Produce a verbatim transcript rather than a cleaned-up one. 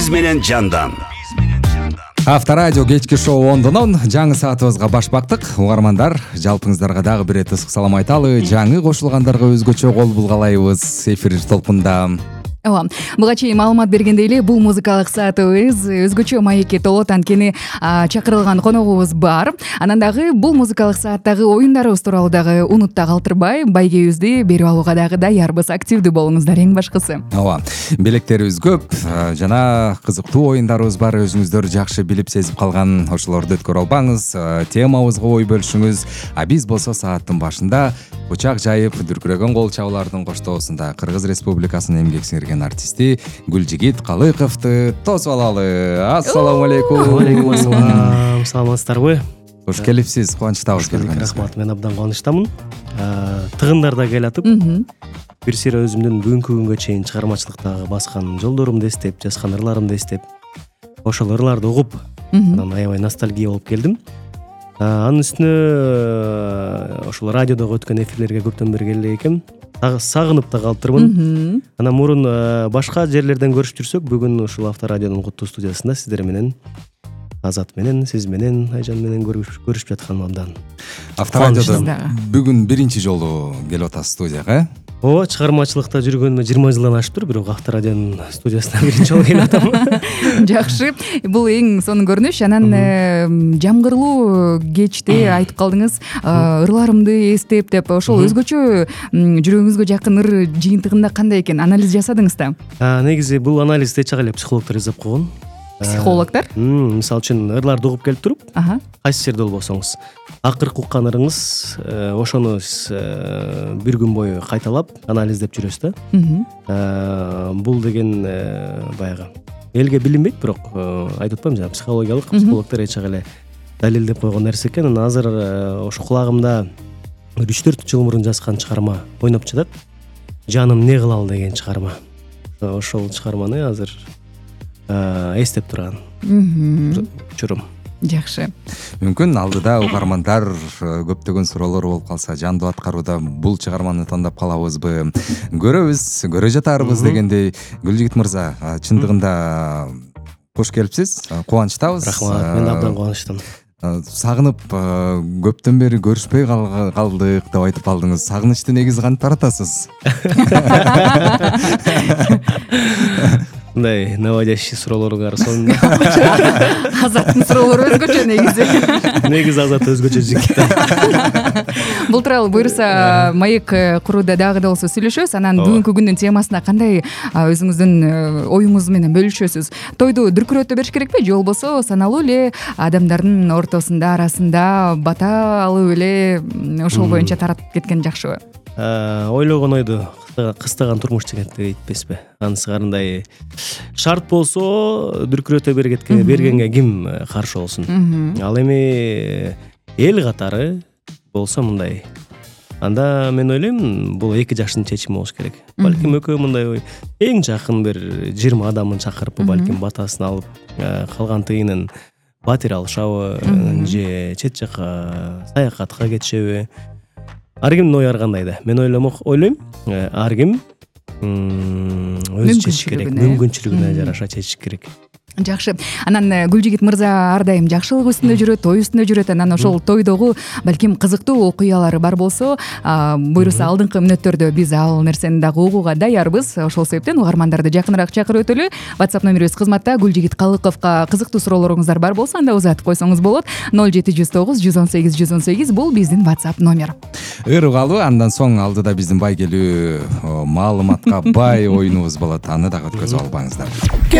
Биз менен жандан. Авторадио кечки шоу ондонон жаңы саатыбызга баш бактык. Угармандар, жалпыңыздарга дагы бир эт ысык салам айталы. Жаңы кошулгандарга өзгөчө кол булгалайбыз. Эфир толкунда. Ооба, буга чейин маалымат бергендей эле бул музыкалык саатыбыз өзгөчө маекке толот. Анткени чакырылган коногубуз бар. Анан дагы бул музыкалык сааттагы оюндарыбыз тууралуу дагы унутта калтырбай, байгебизди берип алууга дагы даярбыз. Активдүү болуңуздар эң башкысы. Ооба, белектерибиз көп жана кызыктуу оюндарыбыз бар. Өзүңүздөр жакшы билип сезип калган ошолорду өткөрө албаңыз. Темабызга ой бөлүшүңүз. А биз болсо сааттын башында бычак жайып, дүркүрөгөн кол чабуулардын коштоосунда Кыргыз Республикасынын эмгек сиңирген артисти Гүлжигит Калыковду тосуп алалы. Ассаламу алейкум. Алейкум ассалам. Саламатсыздарбы? Кош келипсиз, кубанычтабыз келгениңизге. Рахмат, мен абдан кубанычтамын. Тыгындар да келатып, бир сыйра өзүмдүн бүгүнкү күнгө чейин чыгармачылыктагы баскан жолдорумду эстеп, жазган ырларымды эстеп, ошол ырларды угуп, анан аябай ностальгия болуп келдим. Анын үстүнө ошол радиодогу өткөн эфирлерге көптөн бери келе экем. Сагынып да калыптырмын. Анан мурун башка жерлерден көрүшүп жүрсөк, бүгүн ушул Авторадионун куттуу студиясында сиздер менен, Азат менен, сиз менен, Айжан менен көрүшүп жатканым абдан. Авторадиодо бүгүн биринчи жолу келип атасыз студияга, э? Ооба, чыгармачылыкта жүргөнүмө жыйырма жылдан ашыптыр, бирок Авторадионун студиясына биринчи жолу келип атам. Жакшы. Бул эң сонун көрүнүш. Анан жамгырлуу кечте айтып калдыңыз, ырларымды эстеп деп. Ошол өзгөчө жүрөгүңүзгө жакын ыр жыйынтыгында кандай экен? Анализ жасадыңыз да? Негизи бул анализди эч эле психологдор жасап койгон. Психологдор? Мисалы үчүн ырларды угуп келип туруп, кайсы жерде болбосоңуз, акыркы уккан ырыңыз ошону бир күн бою кайталап анализдеп жүрөсүз да. Бул деген баягы элге билинбейт, бирок айтып атпаймынбы, жана психологиялык психологдор эч эле далилдеп койгон нерсе экен. Анан азыр ошо кулагымда үч төрт жыл мурун жазган чыгарма ойноп жатат. Жаным не кылалы деген чыгарма. Ошол чыгарманы азыр эстеп турган учурум. Жакшы. Мүмкүн алдыда угармандар көптөгөн суроолор болуп калса, жандуу аткарууда бул чыгарманы тандап калабызбы, көрөбүз, көрө жатарбыз дегендей. Гүлжигит мырза, чындыгында кош келипсиз, кубанычтабыз. Рахмат, мен абдан кубанычтамын. Сагынып көптөн бери көрүшпөй калдык деп айтып калдыңыз. Сагынычты негизи кантип таратасыз? Мындай наводящий суроолорго карасоң. Азаттын суроолору өзгөчө негизи. Негизи Азат өзгөчө жигит. Бул тууралуу буюрса маек курууда дагы да болсо сүйлөшөбүз. Анан бүгүнкү күндүн темасына кандай өзүңүздүн оюңуз менен бөлүшөсүз? Тойду дүркүрөтө бериш керекпи, же болбосо саналуу эле адамдардын ортосунда, арасында бата алып эле ошол боюнча таратып кеткен жакшыбы? Ойлогон ойду кыстаган турмуш дегенди айтпайсызбы? Анысы кандай шарт болсо дүркүрөтө бергенге ким каршы болсун? Ал эми эл катары болсо мындай. Анда мен ойлойм, бул эки жаштын чечими болуш керек. Балким экөө мындай эң жакын бир жыйырма адамын чакырып, балким батасын алып, калган тыйынын батир алышабы, же чет жака саякатка кетишеби? Ар кимдин ою ар кандай да. Мен ойлойм, ар ким өзү чечиш керек, мүмкүнчүлүгүнө жараша чечиш керек. Жакшы. Анан Гүлжигит мырза ар дайым жакшылык үстүндө жүрөт, той үстүндө жүрөт. Анан ошол тойдогу балким кызыктуу окуялары бар болсо, буюрса алдыңкы мүнөттөрдө биз ал нерсени дагы угууга даярбыз. Ошол себептен угармандарды жакыныраак чакырып өтөлү. WhatsApp номерибиз кызматта. Гүлжигит Калыковго кызыктуу суроолоруңуздар бар болсо, анда узатып койсоңуз болот. ноль жети жүз тогуз жүз он сегиз жүз он сегиз бул биздин WhatsApp номер. Ыр угалы, андан соң алдыда биздин байгелүү маалыматка бай оюнубуз болот. Аны дагы өткөзүп албаңыздар.